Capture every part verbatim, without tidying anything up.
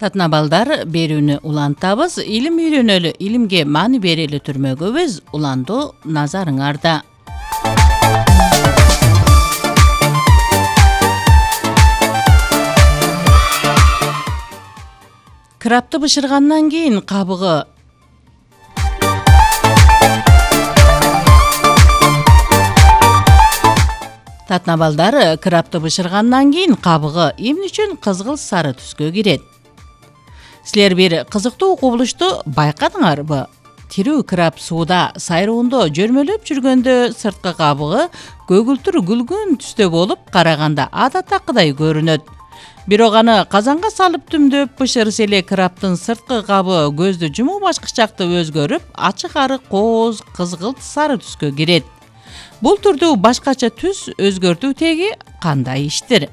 Татына балдар, берүүнү улантабыз, илим үйрөнөлү, илимге маани берели түрмөгөбүз, уландуу назарыңарда. Крапты бышыргандан кийин кабыгы Татына балдар, крапты бышыргандан кийин кабыгы эмне үчүн кызгыл сары түскө кирет? Силер бир кызыктуу кубулушту байкадыңарбы? Тирүү крап сууда сайроондо жөрмөлөп жүргөндө сырткы кабыгы көгүлтүр күлгүн түстө болуп, караганда адаттакыдай көрүнөт. Бирок аны казанга салып түмдөп бышырса эле краптын сырткы кабы көздү жумуу бачкычакты өзгөрүп, ачык арык кооз кызгылт сары түскө кирет. Бул түрдүү башкача түс өзгөртүү теги кандай иштир?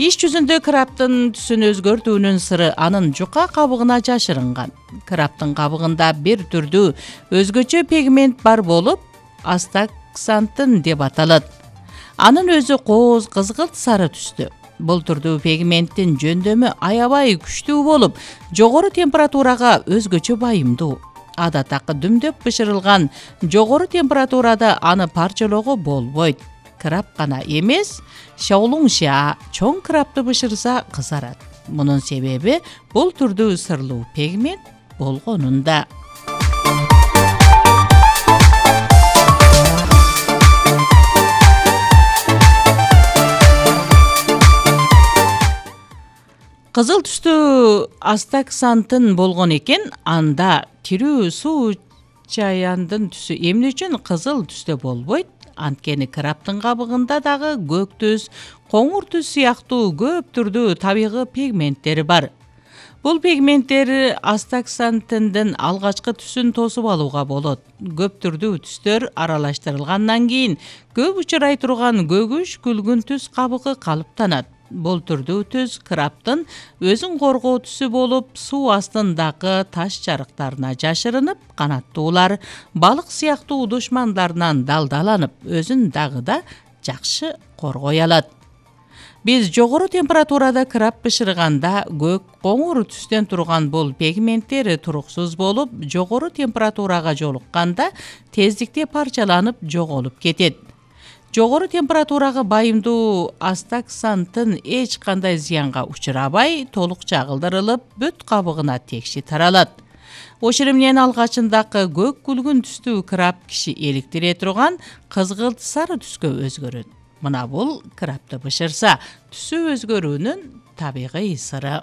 Иш жүзүндө краптын түсүн өзгөртүүнүн сыры анын жука кабыгына жашырынган. Краптын кабыгында бир түрдүү өзгөчө пигмент бар болуп, астаксантын деп аталат. Анын өзү кооз кызгылт сары түстө. Бул түрдүү пигменттин жөндөмү аябай күчтүү болуп, жогору температурага өзгөчө байымдуу. Адаттакы дүмдөп бышырылган жогору температурада аны парчалоого болбойт. Крап гана эмес, шаолуңша чоң крапты бышырса кызарат. Мунун себеби бул түрдүү сырлуу пигмент болгонунда. Кызыл түстүү астаксантын болгон экен, анда тирүү суу чаяндын түсү эмне үчүн кызыл түстө болбойт? Анткени краптын кабыгында дагы көк түс, коңур түс сыяктуу көп түрдүү табигый пигменттери бар. Бул пигменттер астаксантындын алгачкы түсүн тосуп алууга болот. Көп түрдүү түстөр аралаштырылгандан кийин көп учурай турган көгүш күлгүн түс кабыгы калыптанат. Бул түрдүү түс краптын өзүн коргоо түсү болуп, суу астындагы таш жарыктарына жашырынып, канаттуулар, балык сыяктуу душмандарынан далдаланып, өзүн дагы да жакшы коргой алат. Биз жогору температурада крап бышырганда көк, коңур түстөн турган бул пигменттер туруксуз болуп, жогору температурага жолукканда тездикте парчаланып жоголуп кетет. Жогору температурага байымдуу астаксантын эч кандай зыянга учурабай, толук чагылдырылып, бүт кабыгына текши таралат. Ошол менен алгачындагы көк күлгүн түстүү крап киши эликтире турган кызгылт сары түскө өзгөрөт. Мына бул крапты бышырса, түсү өзгөрүүнүн табигый сыры.